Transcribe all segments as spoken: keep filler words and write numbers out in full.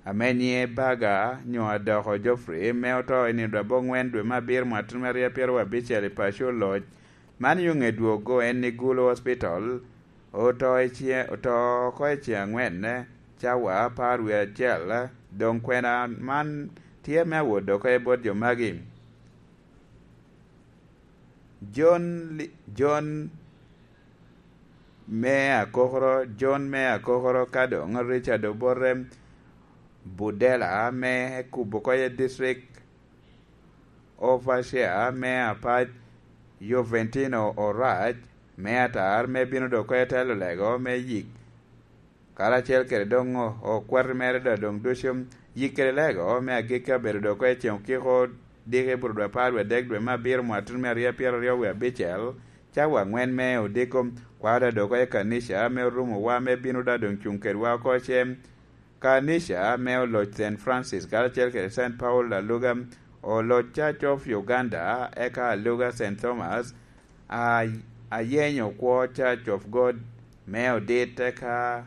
ame nyiŋe Baga nyo Adoko Geoffrey, me oto i nino dwe abongwen dwe me abiro mwaka tutumia aryo pyeraryo abicel i paco Oloc. Man yo ŋe dwogo en ni Gulu Hospital, oto i ce-, oto oko i ceŋ angwen, cawa apar wie acel. Doŋ kwena man tye me awot dok i bot jo magi. John Li-, John me Akokoro, John me Akokoro, ka doŋ Richard Obote Budela me Kubo Koye District, Overseer me Apac, Joventino Orac me Atar, me bino dok Koye Telo Lego me Yik, karacel kede doŋ o-, okwati mere da doŋ ducu. Yik kede Lego me Agikki abedo dok Koye Ceŋ Okiko, diki buro dwe apar wie adek dwe me abiro mwaka tutumia aryo pyeraryo wie abicel, cawa angwen me odiko, kwao da dok Koye Kanica me Orumowa, me bino da doŋ cuŋ kedwa oko cem. Kanica me Oloc Saint Francis karacel kede Saint Paul Aluga, Oloc Church of Uganda, eka Aluga Saint Thomas, a-, Ayenyokwo Church of God me Odit, eka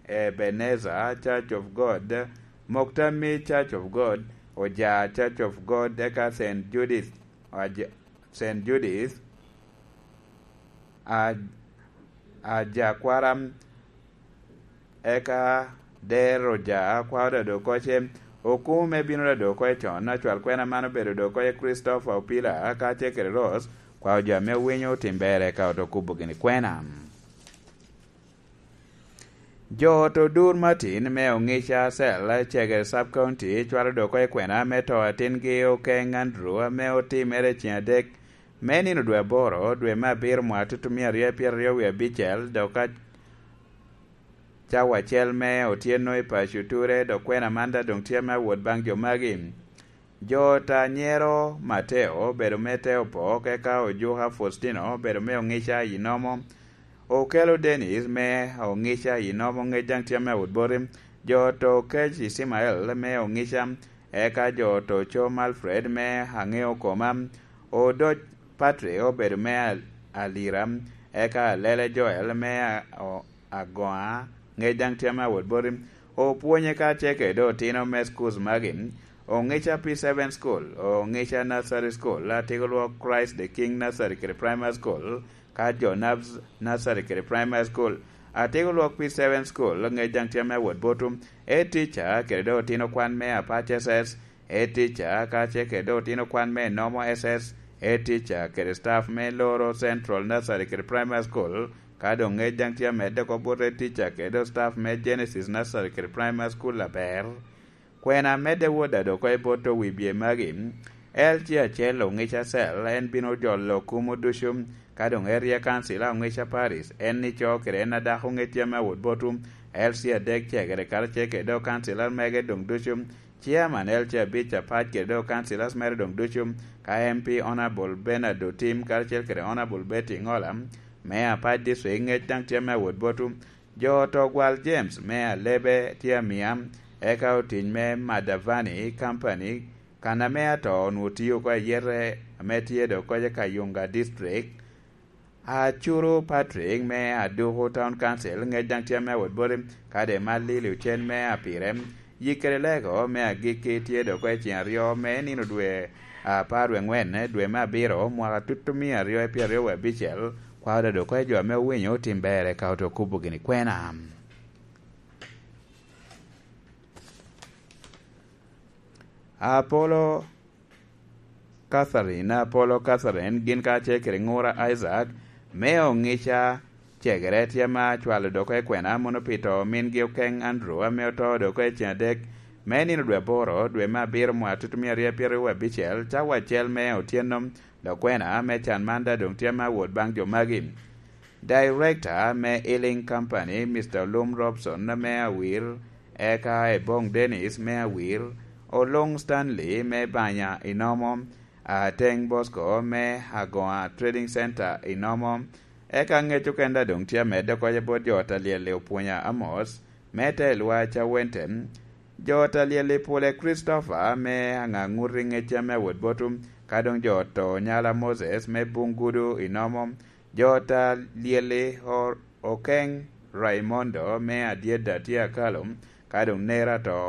Ebenezer Church of God, Moktami Church of God, Oja Church of God, eka Saint Judith, Aj-, Saint Judith, Aj-, Ajakwara, eka Dero Oja, kwao da dok Koye Okumu me bino da dok Koye Con, acwal kwena man obedo dok Koye Christopher Opila, kacel kede Rose, kwao jo ame owinyo otim ber eka oto kubo gini kwena. Jo ot Odur Martin me Ongica Cell, Cegere Sub County, cwalo dok Koye kwena me to atingi Okeng Andrew, ame otimere i ceŋ adek me nino dwe aboro, dwe me abiro mwaka tutumia aryo pyeraryo wie abicel, dok a-, cawa acel me otyeno i paco Ture, dok kwena man da doŋ tye me awot baŋ jo magi. Jo ot anyero Mateo obedo me te opok, eka Ojuka Faustino obedo me Ongica i Nomo, Okelo Dennis me Ongica i Nomo, ŋec daŋ tye me awot boti. Jo ot Okec Icimael me Ongica, eka jo ot Ocom Alfred me Aŋeo Koma, Odoc Patrick obedo me Al-, Alira, eka Alele Joel me A-, O-, Agoa, ŋec daŋ tye me awot boti. Opwonye kacel kede otino me schools magi: Ongica P seven School, Ongica Nursery School, Atiko Lwok Christ the King Nursery kede Primary School, ka jo Nabs Nursery kede Primary School. Atiko Lwok P seven School, ŋec daŋ tye me awot boti. Head teacher kede dok otino kwan me Apac S S, Head teacher kacel kede dok otino kwan me Nomo S S, Head teacher kede staff me Loro Central Nursery kede Primary School, ka doŋ ŋec daŋ tye amedde oko bot Head teacher kede dok staff me Genesis Nursery kede Primary School aber. Kwena amedde wot da dok oko i bot owibye magi: L C acel Ongica Cell, en bino jolo kumo ducu, ka doŋ Area Council a Ongica Parish, en ico kede en adako ŋec tye me awot boti. L C adek Cegere karacel kede dok councillor mege doŋ ducu, Chairman L C abic Apac kede dok councillors mere doŋ ducu, ka M P Honourable Bernard Otim karacel kede Honourable Betty Ŋola me Apac District, ŋec daŋ tye me awot boti. Jo ot Ogwal James me Alebe tye amia, eka otic me Madavani Company, kan ame ato onwoŋo tio oko ayete ame tye dok koca Kayunga District. Acuru Patrick me Aduku Town Council, ŋec daŋ tye me awot boti, kadi Malili Ocen me Apire. Yik kede Lego me Agikki tye dok oko i ceŋ aryo me nino dwe apar wie aŋwen, dwe me abiro, mwaka tutumia aryo pyeraryo wie abicel. Kwao da dok oko i jo ame owinyo otim ber eka oto kubo gini kwena. Apolo Catherine, Apolo Catherine, gin kacel kede ŋura Isaac, me Oŋica Cegere, tye ma acwalo dok oko i kwena mono pi to mingi Okeng Andrew, ame oto dok oko i ceŋ adek me nino dwe aboro, dwe me abiro, mwaka tutumia aryo pyeraryo abicel, cawa acel me otyeno. Dok kwena me can man da doŋ tye me awot baŋ jo magi. Director me Healing Company, Mister Olum Robson me Awir, eka Ebong Dennis me Awir, Olung Stanley me Banya i Nomo, Ateng Bosco me Agoa Trading Center i Nomo, eka ŋec okene da doŋ tye amedde oko bot jo ot alyel i Opwonya Amos me Telwa Cawente, jo ot alyel i Pule Christopher me Aŋaŋuti ŋec tye me awot boti, ka doŋ jo ot Onyala Moses me Bungudu i Nomo, jo ot alyel i O-, Okeng Raimondo me Adyeda tye akalo, ka doŋ nera to